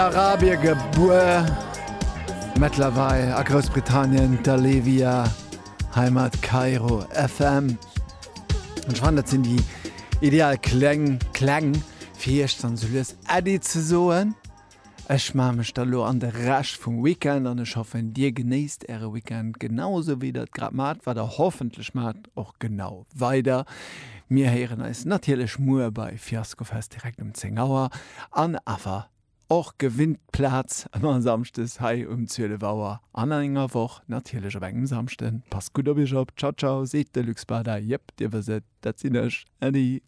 Arabie gebuer, mëttlerweil a Groussbritannien, d'Alevia, Heimat Kairo FM. An ech fannen, dat sinn déi ideal Kläng, Kläng, fir iech dann esou lues Äddi ze soen. Ech maache mech da lo an de Rescht vum Weekend an ech hoffen, dir genéisst äre Weekend genau esou wéi der et grad maacht, wat der hoffentlech maacht, och genau weider. Mir héieren eis natierlech muer bei Fiaskofest direkt um 10 Auer an awer Och gewinnt d'Plaz ëmmer Samschdes hei um 12 Auer an an enger Woch natierlech op engem Samschden. Passt gutt op iech op. Ciao ciao seet de Luc Spada. Jep, dir wësst et, dat sinn ech. Äddi.